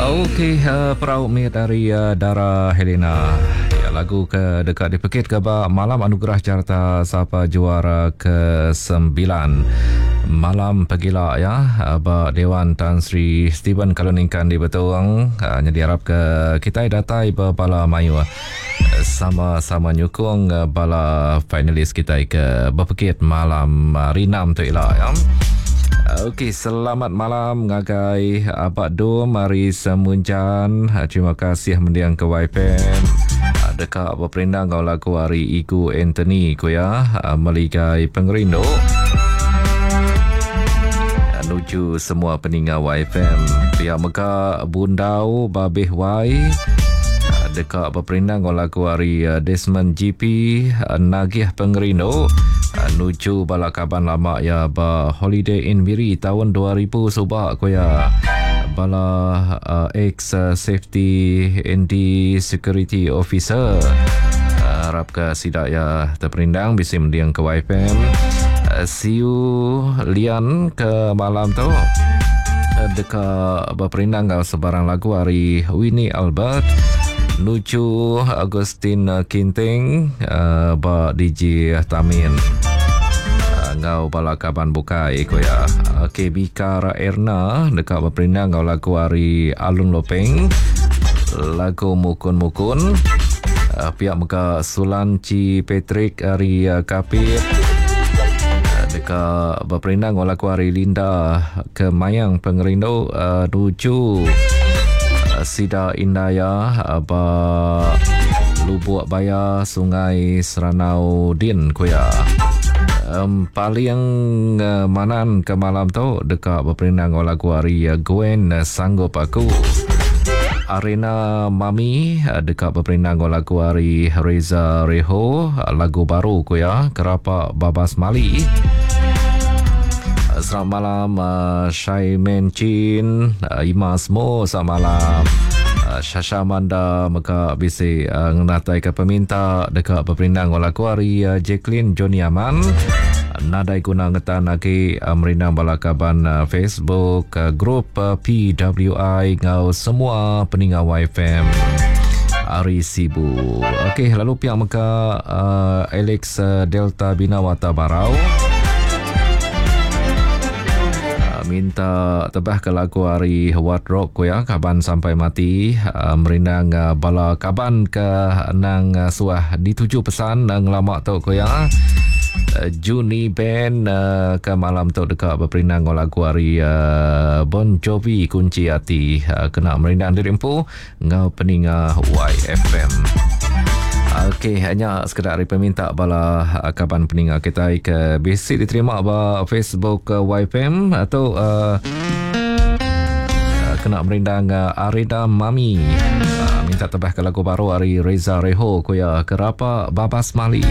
Okey, uh, perau mit ari uh, Dara Helena. Ya, lagu ke deka dipekit ke ba Malam Anugerah Carta Sapa Juara ke-9. Malam pegila ya eh, ba Dewan Tan Sri Stephen Kaluningkan di Betong. Uh, jadi harap ke kita datai ba bala mayuh sama-sama nyukung bala finalis kita ke bepekit malam hari 6 tu ila ya. Okey, selamat malam ngagai Abak Dom ari Semunjan. Terima kasih mendiang ke YFM. Deka beperindang ngau lagu ari Igu Anthony ku ya, Meligai Pengerindu. Nuju semua peninga YFM. Pia mega Bundau Babih Wai deka beperindang enggau lagu ari Desmond GP Nagih Pengerindu nuju bala kaban lama iya ba Holiday Inn Miri taun 2000 suba ku iya bala ex safety and security officer arapka sida iya teperindang bisi mending ke YFM see you Lian ke malam tu deka beperindang enggau sebarang lagu ari Winnie Albert nuju Augustine Kinting uh, ba DJ Tamin enggau bala kaban bukai ku iya. Okey Bikar Erna deka beperindang enggau lagu ari Alun Lopeng lagu Mukun-Mukun. Uh, pia mega Sulan Chi Patrick ari uh, Kapit uh, deka beperindang enggau lagu ari Linda ke Mayang Pengerindu uh, nuju uh, sida Indaya uh, ba Lubuk Baya Sungai Seranau Din ku iya. Um, paling uh, manan ke malam tu deka beperindang enggau lagu ari uh, Gwen uh, Sanggup Aku. Arena Mami uh, deka beperindang enggau lagu ari Reza Reho, uh, lagu baru ku iya Kerapa Babas Mali. Uh, selamat malam uh, Shai Men Chin, uh, Ima Smo selamat malam. Uh, Shasha Manda mega bisi uh, ngenataika peminta deka beperindang enggau lagu ari uh, Jacqueline Johnny Aman. Nadai guna ngetan agi uh, merindang bala kaban uh, Facebook, uh, grup uh, PWI enggau semua peninga YFM ari Sibu. Okey, lalu pihak mega uh, Alex uh, Delta Binawata Barau. Minta tebah ke lagu ari Wat Rock ku ya kaban sampai mati uh, merindang uh, bala kaban ke nang uh, suah dituju pesan uh, ngelama tu ku ya. Uh, Juni Band uh, ke malam tu deka beperindang enggau lagu ari uh, Bon Jovi Kunci Ati uh, kena merindang diri empu enggau peninga YFM. Okey, hanya sekeda ari peminta bala ah, kaban peninga kitai ke bisi diterima ba Facebook ah, YFM atau uh, kena merindang uh, Arida Mami. Uh, minta tebah ke lagu baru ari Reza Reho ku ya Kerapa Babas Mali.